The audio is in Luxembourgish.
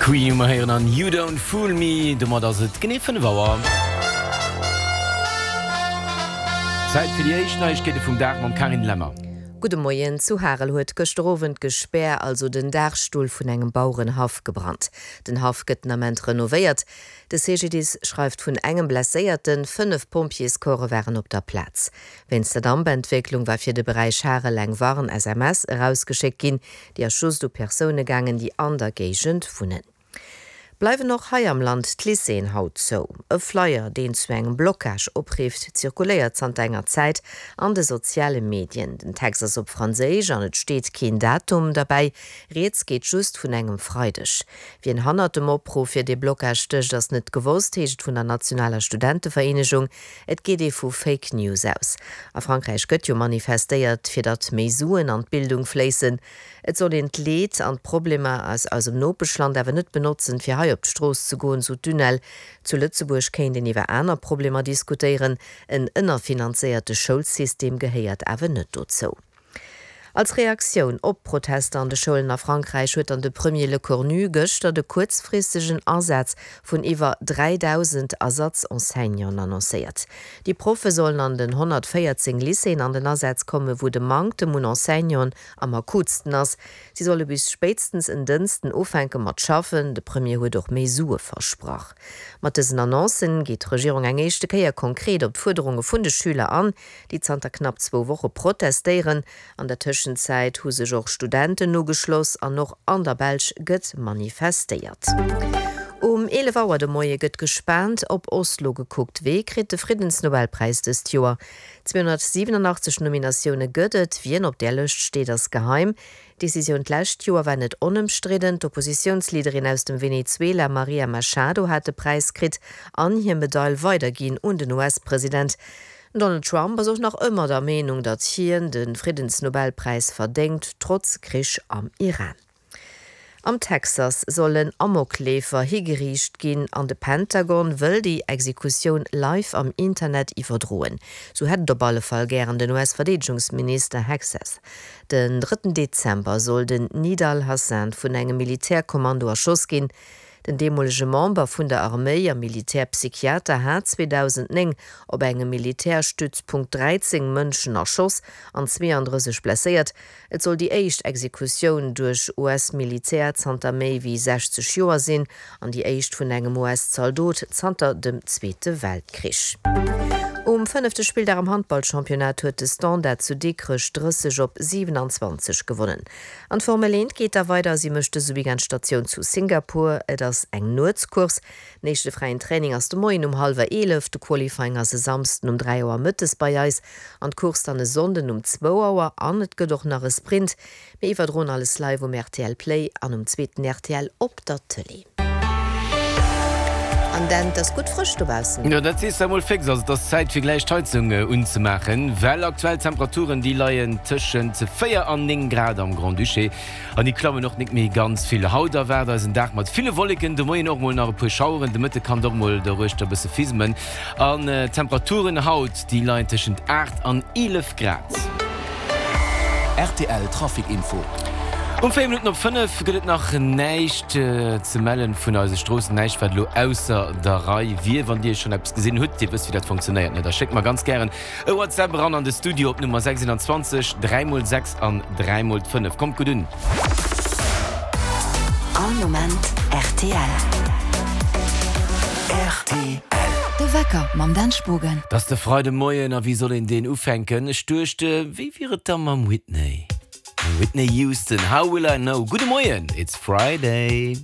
Queen hu mer héieren an You Don't Fool Me. Domat ass et genee 5 Auer. Zäit fir déi éischt Neiegkeete vum Dag mam Carine Lemmer. Gudde Moien. Zu Harel huet gëschter Owend d'Gespär, also den Daachstull vun engem Bauerenhaff gebrannt. Den Haff gëtt den Ament renovéiert. De CGDIS schreift vun engem Blesséierten. 5 Pompjeescorpse waren op der Plaz. Wéinst der Dampentwécklung war fir de Beräich Harel eng Warn-SMS erausgeschéckt ginn. Déi ass just u Persoune gaangen, déi an der Géigend wunnen. Bleiwen och hei am Land d'Lycéeën haut zou? E Flyer, deen zu engem Blocage oprifft, zirkuléiert zanter enger Zäit an de soziale Medien. Den Text ass op Franséisch an et steet keen Datum derbäi. Rieds geet just vun engem Freideg. Wien hannert dem Opruff fir dee Blocage stécht, ass net gewosst, heescht et vun der nationaler Studentevereenegung. Et geet ee vu Fake News aus. A Frankräich gëtt jo manifestéiert, fir datt méi Suen an d'Bildung fléissen. Et soll een d'Leed an d'Problemer aus eisem Nopeschland awer net benotzen, fir hei op d'Strooss ze goen, sou d'UNEL. Zu Lëtzebuerg kéint een iwwer aner Problemer diskutéieren. En ënnerfinanzéierte Schoulsystem gehéiert awer net dozou. Als Reaktioun op d'Protester an de Schoulen a Frankräich huet dann de Premier Lecornu gëschter de kuerzfristegen Asaz vun iwwer 3.000 Ersatz-Enseignanten annoncéiert. Déi Proffe sollen an den 114 Lycéeën an den Asaz kommen, wou de Manktem un Enseignanten am akutsten ass. Si solle bis spéitstens en Dënsten ufänke mat schaffen. De Premier huet och méi Sue versprach. Mat dësen Annoncen geet d'Regierung eng éischte Kéier konkret op d'Fuerderunge vun de Schüler an, déi zanter knapp zwou Woche protestéieren. An der Tëschenzäit hu sech och Studenten ugeschloss an och an der Belsch gëtt manifestéiert. Um 11 Auer de Moie gëtt gespaant op Oslo gekuckt. Wee kritt de Friddensnobelpräis dëst Joer? 287 Nominatioune gëtt et. Wien op där Lëscht steet, ass geheim. D'Decisioun d'lescht Joer war net onëmstridden. D'Oppositiounsleaderin aus dem Venezuela Maria Machado hat de Präis kritt an hir Medail weiderginn un den US-President. Den Donald Trump ass och nach ëmmer der Meenung, datt hien de Friddensnobelpräis verdéngt, trotz Krich am Iran. Am Texas soll en Amokleefer higeriicht ginn an de Pentagon wëll déi Exekutioun live am Internet iwwerdroen. Sou hätt et op alle Fall gären den US-Verdeedegungsminister Hegseth. Den drëtten Dezember soll den Nidal Hassan vun engem Militärkommando erschoss ginn. Den deemolege Member vun der Arméi a Militärpsychiater hat 2009 op engem Militärstützpunkt 13 Mënschen erschoss an 32 blesséiert. Et soll déi éischt Exekutioun duerch US-Militär zanter méi wéi 60 Joer sinn an déi éischt vun engem US-Zaldot zanter dem Zweete Weltkrich. Um fënnefte Spilldag am Handballchampionnat huet de Standard zu Dikrech 30 op 27 gewonnen. An d'Formel 1 geet da weider, si mécht dëse Weekend Statioun zu Singapur. Et ass eng Nuetscourse. Den éischte fräien Training ass de Moien um hallwer 11, de Qualifying ass e Samsden um 3 Auer mëttes bei eis an d'Course dann e Sonnden um zwou Auer an et gëtt och nach e Sprint. Mir iwwerdroen alles live um rtl Play an um zweeten rtl op der Tëlee. An Dan, 't ass gutt frësch dobaussen. Jo, dat sees de emol fix. Also et ass Zäit fir gläich d'Heizung unzemaachen, well aktuell d'Temperaturen déi leien tëschent 4 an 9 Grad am Grand-Duché an déi klammen och nik méi ganz vill. Haut erwaart eis en Dag mat ville Wolleken, de Moien och mol nach e puer Schaueren, de Mëtte kann et och mol doruechter e bësse fismen an d'Temperaturen haut déi leien tëschent 8 an 11 Grad. Rtl Trafic Info. Um 4 Minutten op 5 gëtt et nach näischt ze mellen vun eise Stroossen, näischt wat elo ausser der Rei wier. Wann Dir schonn eppes gesinn hutt, Dir wësst wéi dat funktionéiert, ne? Da schéckt mer ganz gären e WhatsApp eran an de Studio op d'Nummer 621 3 mol 6 an 3 mol 5. Kommt gutt un! All Moment rtl. Rtl. De Wecker mam Dan Spogen. 't ass de Freidemoien a wéi soll een deen ufänken? Ech duecht, wéi wier et da mam Whitney? Whitney Houston, How Will I Know? Gudde Moien, it's Friday.